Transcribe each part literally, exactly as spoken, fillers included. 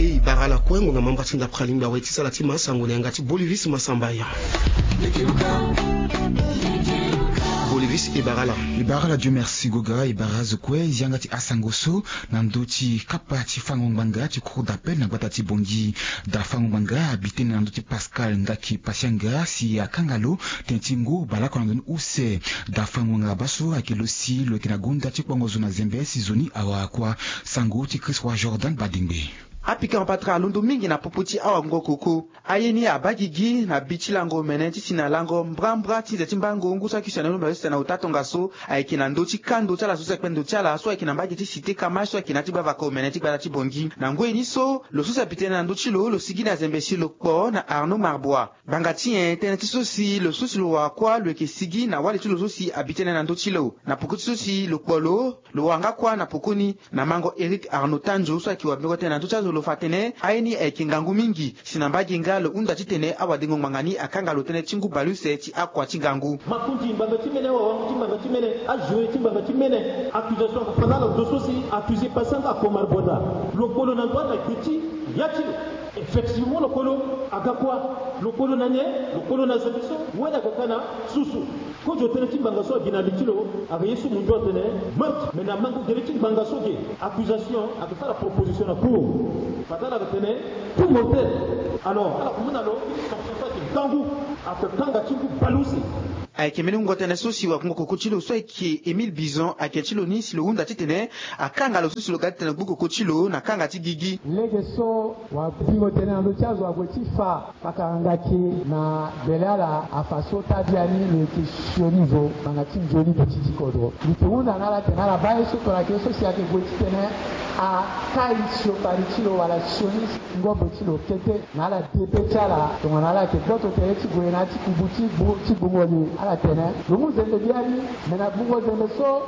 E bara ala kue ngonga mambra ti ndapra lingba awe ti sala ti ma sango na yanga ti Bolivis Masambaya. Bolivis e bara ala. E bara ala Dieu merci goga e bara azo kue yanga ti asango so na ndö ti kapa ti fango ngbanga ti cour d'appel na gbata ti Bangui. Da fango ngbanga abi tënë na ndö ti Pascal Ngaki Pasianga si akanga lo tënë ti ngu baleoko na ndö ni use. Da fango ngbanga baa so ayeke lo si lo yeke na gonda ti kpongo zo na zembe si zo ni awara kua. Sango ti Christ Roi Jordan Badingbe. Apika mapatara alondo mingi na popo ti awangokoko. Aye ni abaa gigi na bi ti lango mene ti si na lango mbrambra ti nze ti mbango ngu so ayeke si na yombe na use na ota tongaso ayeke na ndö ti kando ti ala so si akpe ndo ti ala so ayeke na mbage ti cité Kamash so ayeke na ya ti gbavaka omene ti gbata ti Bangui. Na ngoi ni so lo so si abi tënë na ndö ti lo lo sigi na zembe si lo kpo na Arnaud Marbois. Ngbanga ti nyen tënë ti so si lo so si lo wara kuâ lo yeke sigi na wali ti lo so si abi tënë na ndö ti lo na poko ti so si lo kpo lo. Lo wara nga kuâ na poko ni na mango Éric Arnaud Tanjo so ayeke wabingo tënë na ndö ti azo lo fa atene aye ni ayeke ngangu mingi si na mbage nga lo hunda titene awadengo ngbanga ni akanga lo tënë ti ngu baleuse ti akua ti ngangu. Makonzi ngbanga ti mene, awawango ti ngbanga ti mene, ajoue ti ngbanga ti mene. Accusation afa na ala ndo so si accusé pasi anga akomar boda. Lo kpo lo na ndo ala gbe ti ya ti lo. Effectivement lo kolo aga kuâ. Lo kolo na nyen? Lo kolo na zembe so wani aga ka na susu. Kozo tënë ti ngbanga so agi na li ti lo aga ye so mundu atene meurtre. Mais na mango gere ti ngbanga so ge accusation aga sara proposition na cour. Fade ala aga tene coup mortel. Alors ala kumbu na lo ti sanction so ayeke ngangu. Ayeke kanga ti ngu baleuse. Ayeke mbeni wungo tënë so si wakungo koko ti lo so ayeke Émile Bison ayeke ti lo ni si lo hunda titene akanga lo so si lo ga titene gbu koko ti lo na kanga ti gigi. Lege so wabingo tënë na ndö ti azo ague ti fa. Pakara ngaki na bele ala afa so tabia ni lo yeke sioni zo ngbanga ti nzoni duti ti kodro. Mbi yeke hunda na ala tene ala baa ye so tongana ayeke ye so si ayeke gue titene akai siokpari ti lo wala sioni ngobo ti lo kete. Na ala debe ti ala tongana ala yeke gboto tere ti gue na ya ti kubu ti gbu ti gbungo li ala tene lo mu zembe biani. Me na gbungo zembe so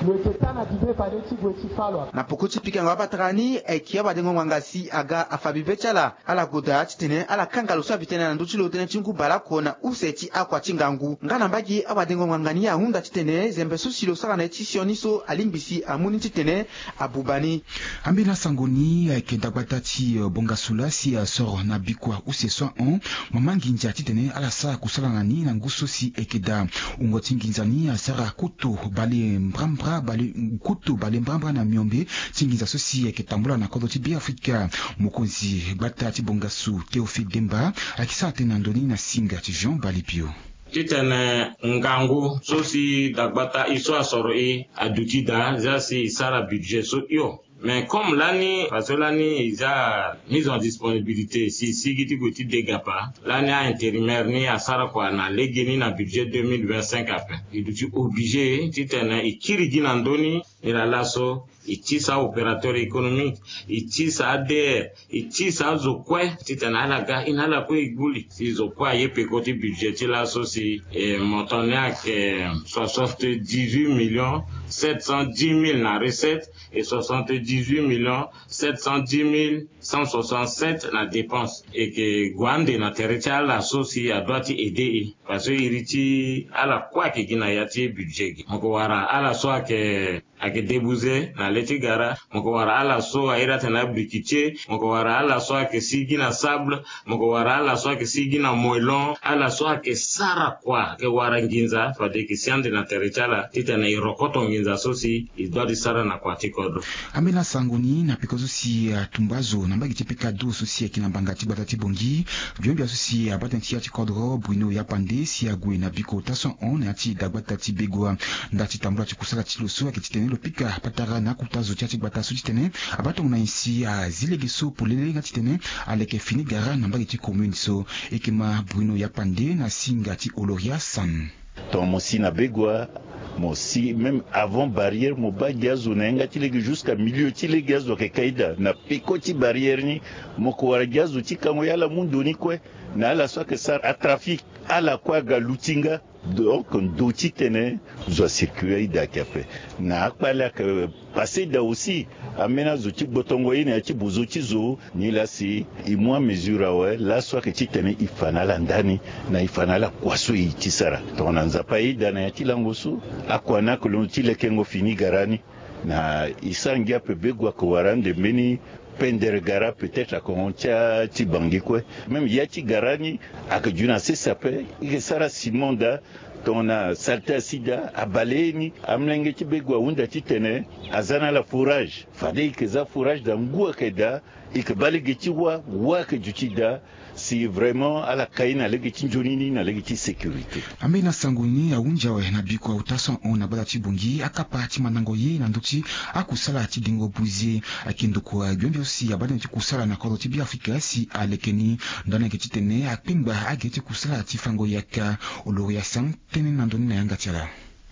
lo yeke ta na bibe fade ti gue ti fa lo. Na poko ti pikango abatara ni ayeke awadengo ngbanga si aga afa bibe ti ala. Ala goda titene ala kanga lo so abi tënë na ndö ti lo tënë ti ngu baleoko na use ti akua ti ngangu. Nga na mbage awadengo ngbanga ni ahunda titene zembe so si lo sara na ye ti sioni so alingbi si amu ni titene abuba ni. Ambeni asango ni ayeke dagbata ti bongasu laa si asoro na bikua use so ahon mama nginza titene ala sara kusala na ni na ngu so si ayeke daa. Wungo ti nginza ni asara kutu bale mbrambra bale kutu bale mbrambra na miombe ti nginza so si ayeke tambula na kodro ti Beafrika. Mokonzi gbata ti bongasu Théophile Demba ayeke sara tënë na ndö ni na singa ti Jean Balipio. Titene ngangu so si dagbata e so asoro e aduti daa za si e sara budget so hio. Mais comme lani parce que lani e za mise en disponibilité si e sigi ti gue ti degapa lani a-intérimaire ni asara kua na legeni na budget deux mille vingt-cinq ape. E duti obligé titene e kiri gi na ndö ni. Nilaa laso e tisa opérateur économique, e tisa A D R, e tisa azo kue titene ala ga e na ala kue e gbu li si zo kue aye peko ti budget ti laso si e montant ni ayeke soixante-dix-huit millions sept cent dix mille na recette et soixante-dix-huit millions sept cent dix mille cent soixante-sept na dépense. E yeke gue ande na tere ti ala so si adoit ti aider e. Parce que iri ti ala kue ayeke gi na ya ti budget gi. Mo yeke wara ala so ayeke ayeke débouze na le ti gara. Mo yeke wara ala so airi atene abriquetier. Mo yeke wara ala so ayeke sigi na sable. Mo yeke wara ala so ayeke sigi na moellon. Ala so ayeke sara kua ayeke wara nginza fade e yeke si ande na tere ti ala titene e rokoto nginza so si e doit ti sara na kua ti kodro. Ambeni asango ni na peko so si atumba zo na mbage ti pika do so si ayeke na mbanga ti gbata ti Bangui. Gbia gbia so si abaa tënë ti ya ti kodro Bruno Yapande si ague na biko ota so ahon na ya ti dagbata ti Begoua. Nda ti tambula ti kusala ti lo so ayeke titene lo pika patara na akota zo ti ya ti gbata so titene abaa tongo na nyen si azi lege so polele nga titene aleke fini gara na mbage ti commune so. E yeke ma Bruno Yapande na singa ti Oloria San. Ton mo si na Begoua, mo si même avant barrière mo baa gi azo na yanga ti lege jusqu'à milieu ti lege azo ayeke kai daa na peko ti barrière ni. Mo yeke wara gi azo ti kango ya ala mu ndo ni kue. Na ala so ayeke sara atrafic ala kue aga luti nga. Donc ndo titene zo acircule aye daa ayeke ape. Na akpale ayeke passé daa aussi. Ambeni azo ti gbotongo ye na ya ti bozo ti zo. Nilaa si e mu amesure awe laso ayeke titene e fa na ala ndani na e fa na ala kua so e ti sara. Tongana Nzapa aye daa na ya ti lango so akua ni ayeke londo ti lekengo fini gara ni. Na e sara ngia ape Begoua ayeke wara ande mbeni Pendere gara peut-être akongo ti a ti bangi kue. Même ya ti gara ni ayeke ju na sese ape. I yeke sara ciment daa, tongana salté asi daa, abale ye ni. Amolenge ti bego ahunda titene aza na ala fourage. Fade i yeke za fourage daa, ngu ayeke daa. I yeke baa lege ti wâ, wâ ayeke duti daa. Si vraiment ala kai na lege ti nzoni ni na lege ti sécurité. Ambeni asango ni ahunzi awe na biko auta so ahon na gbata ti Bangui akapa ti mandango ye na ndö ti akusala ti dengo buze. Ayeke ndokua gbia gbia so si abaa tënë ti kusala na kodro ti Beafrika si aleke ni. Ndani ayeke titene akpengba agere ti kusala ti fango yaka. Oloria Sam tënë na ndö ni na yanga ti ala.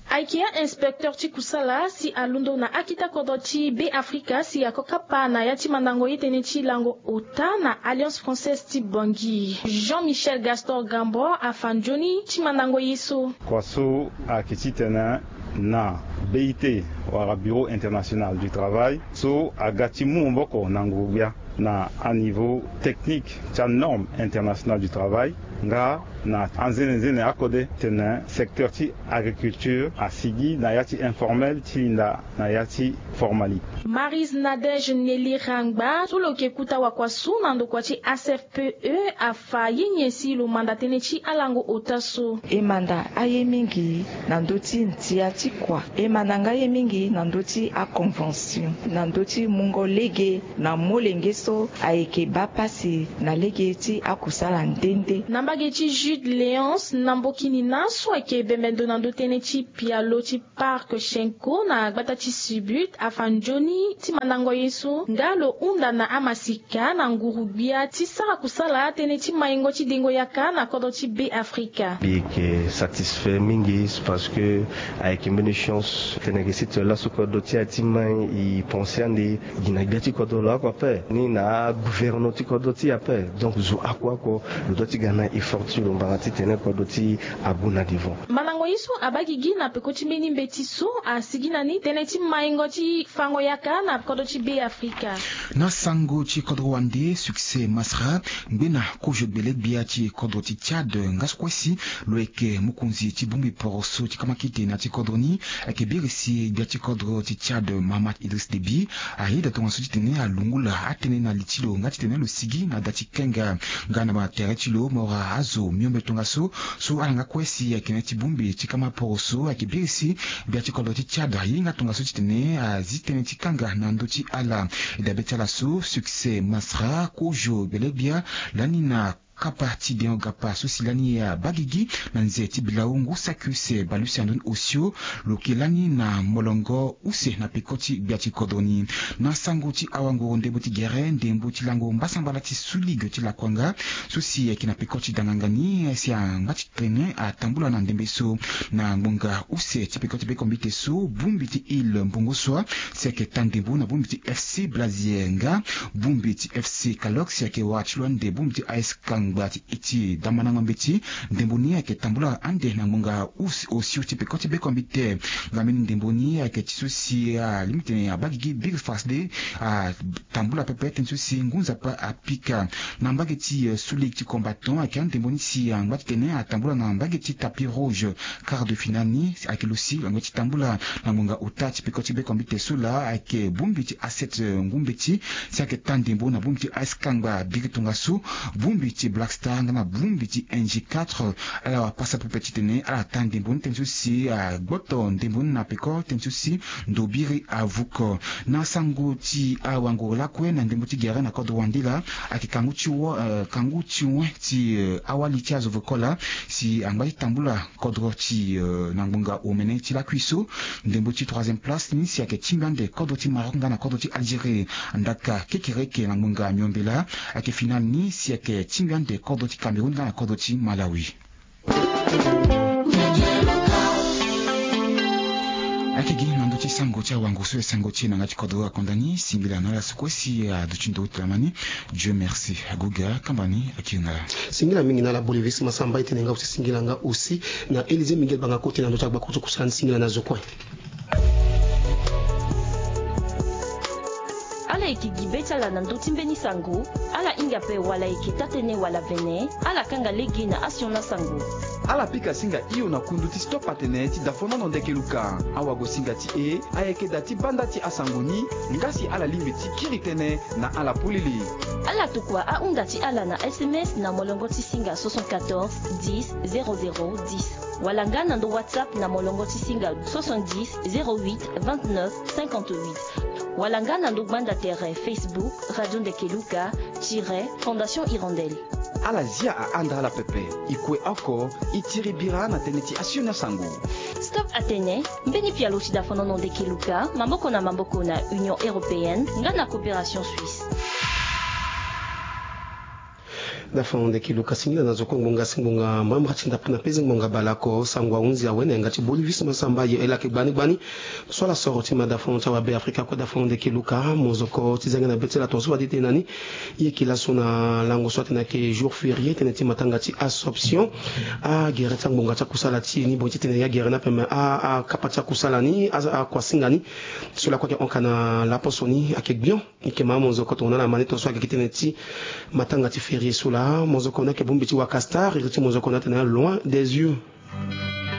Ayeke a-inspecteur ti kusala si alondo na akita kodro ti Beafrika si ako kapa na ya ti mandango ye tënë ti lango ota na Alliance Française ti Bangui. Jean-Michel Gastor Gambo afa nzoni ti mandango ye so. Kua so ayeke titene na B I T wala Bureau International du Travail so aga ti mu maboko na nguru-gbia na aniveau technique ti anorme international du travail, nga na anzenenzene akode tene secteur ti agriculture asigi na ya ti informel ti linda na ya ti formalité. Marise Nadège Nelly Rangba so lo yeke kuta wakua so na ndokua ti A C F P E afa ye nyen si lo manda tënë ti alango ota so. E manda aye mingi na ndö ti ndia ti kua. E manda nga ye mingi na ndö ti aconvention, na ndö ti mungo lege na molenge so ayeke baa pasi na lege ti akusala nde nde. Na mbage ti Jude Léonce na Mbokini na so ayeke bembe ndo na ndö tënë ti pialo ti Parc Chenco na gbata ti Sibut afa nzoni ti mandango ye so nga lo hunda na amasika na nguru-gbia ti sara kusala tënë ti maingo ti dengo yaka na kodro ti Beafrika. Mbi yeke satisfait mingi parce que ayeke mbeni chance tene ayeke site laso kodro ti ya ti mai e pensé ande gi na gbia ti kodro lo oko ape ni na agouvernement ti kodro ti e ape. Donc zo oko oko lo doit ti ga na effort ti lo mbanga titene kodro ti e ague na devant. Mandango ye so abaa gigi na peko ti mbeni mbeti so asigi na ni tënë ti maingo ti fango yaka na kodro ti Beafrika. Na sango ti kodro wande Succès Masra ngbena kozo gbele-gbia ti kodro ti Tchad nga so kue si lo yeke mokonzi ti bongbi poroso ti kamakite na ti kodro ni. Ayeke biri si gbia ti kodro ti Tchad Mahamat Idriss Déby ayeda tongaso titene alungula atënë na li ti lo nga titene lo sigi na da ti kenga nga na tere ti lo mora azo miombe tongaso. So ala nga kue si ayeke na ya ti bongbi ti kama poroso ayeke biri si gbia ti kodro ti Tchad ahinga tongaso titene azi tënë ti kanga na ndö ti ala. E dabe ti ala so Succès Masra kozo gbele-gbia lani na kapa ti Deon Gapa so si lani abaa gigi na nze ti bilau ngu saki use bale use na ndoni osio. Lo yeke lani na molongo use na peko ti gbia ti kodro ni. Na sango ti awanguru ndembo ti gere ndembo ti lango mbasambala ti Sous-Ligue ti Lakuanga so si ayeke na peko ti danganga ni si angba ti tene atambula na ndembe so na ngbonga use ti peko ti bekombite so bongbi ti Ile Mbongo Soa si ayeke taa ndembo na bongbi ti F C Blazier nga bongbi ti F C Kalox si ayeke wara ti lo ande bongbi ti A S Kangba ti e ti damandango mbeti. Ndembo ni ayeke tambula ande na ngbonga us- osio ti peko ti bekombite. Nga mbeni ndembo ni ayeke ti so si alingbi tene abaa gigi biri fasde atambula pepe tënë so si ngu nzapa apika. Na mbage ti eh, Sous-Ligue ti combattant ayeke andembo ni si angba ti tene atambula na mbage ti tapis rouge. Quart de finale ni ayeke lo si lo yeke ti tambula na ngbonga ota ti peko ti bekombite so laa ayeke bongbi ti A sept eh, ngu mbeti si ayeke taa ndembo na bongbi ti A S Kangba biri tongaso. Bongbi ti Black Star nga na bongbi ti N G quatre ala wapasa pepe titene ala taa ndembo ni tënë so si agboto ndembo ni na peko tënë so si ndo biri avuko. Na sango ti awanguru lakue na ndembo ti gere na kodro wande laa ayeke kangu ti wo eh, kangu ti wen ti eh, awali ti azo voko laa si angba ti tambula kodro ti eh, na ngbonga omene ti lakui so. Ndembo ti troisième place ni si ayeke tingbi ande kodro ti Maroc nga na kodro ti Algérie. Ndaka kekereke na ngbonga miombe laa ayeke finale ni si ayeke tingbi ande kodro ti Cameroun nga na kodro ti Malawi. Ayeke gi na ndö ti sango ti awango so e sango ti e na yanga ti kodro akonda ni singila na ala so kue si aduti ndo ti lama ni. Dieu merci agoga kamba ni akiri na ala. Singila mingi na ala Bolivis Masamba e tene nga aussi singila nga aussi na Élisée Miguel Banga Kote na ndö ti agbako ti kusala ni singila na zo kue. Ala yeke gi be ti ala na ndö ti mbeni sango. Ala hinga ape wala ayeke taa-tënë wala vene. Ala kanga lege na asioni asango. Ala pika singa hio na kundu ti stop atene ti dafonono ndeke luka. Awagosinga ti e ayeke da ti banda ti asango ni. Nga si ala lingbi ti kiri tënë na ala polele. Ala tokua ahunda ti ala na S M S na molongo ti singa soixante-quatorze dix zéro zéro dix, wala nga na ndo WhatsApp na molongo ti singa soixante-dix zéro huit vingt-neuf cinquante-huit, wala nga na ndo gbanda tere Facebook Radio Ndeke Luka tiret Fondation Hirondelle. Ala zia ahanda ala pepe. E kue oko, e tiri bira na tënë ti asioni asango. Stop atene mbeni pialo ti dafonono ndeke luka maboko na maboko na Union Européenne nga na Coopération Suisse. Dafonono ndeke luka singila na zo kue ngbonga si ngbonga mbamra ti ndapre na peze ngbonga baleoko. Sango ahunzi awe na yanga ti Bolivis Masamba aye e lake gbani gbani. So ala soro ti ma dafonono ti awabe Afrika kue dafonono ndeke luka mozoko ti zia nga na be ti ala tongaso fade ti tene na ni. E yeke laso na lango so atene ayeke jour férié tënë ti matanga ti Assomption. Agere ti angbonga ti akusala ti e ni boni ti tene e agere ni ape me akapa ti akusala ni akuasinga ni. So lakue ayeke hon ka na laposo ni ayeke gbion. E yeke ma amozoko tongana ala ma ni tongaso ayeke gi tënë ti matanga ti férié so laa mozoko ni ayeke bongbi ti waka star iri ti mozoko ni atene loin des yeux.